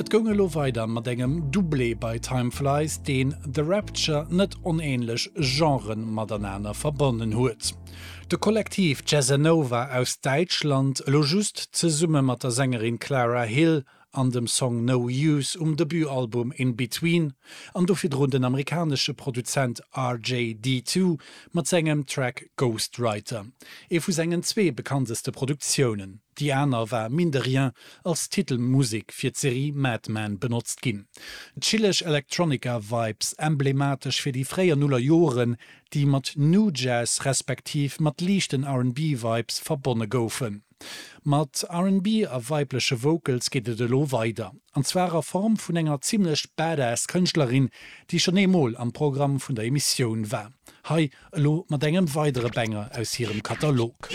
Et goung elo weider mat engem Doublé bei Time Flies, deen The Rapture net onähnlech Genren matenaner verbonnen huet. De Kollektiv Jazzanova aus Däitschland, elo just zesumme mat der Sängerin Clara Hill an dem Song No Use um Debutalbum In Between, an do virdrun den amerikanesche Produzent RJD2 mat sengem Track Ghostwriter, ee vu sengen zwee bekannteste Produktiounen. Déi aner war mine de rien als Titelmusek fir d'Serie Mad Men benotzt ginn. Chilleg Electronica-Vibes, emblematesch fir déi fréier Nullerjoren, déi mat Nu Jazz respektiv mat liichten R&B-Vibes verbonne goufen. Mat R&B a weibleche Vocals geet et elo weider, an zwar a Form vun enger zimmlech badass Kënschtlerin, déi schonn eemol am Programm vun der Emissioun war. Hei elo mat engem weidere Banger aus hirem Katalog.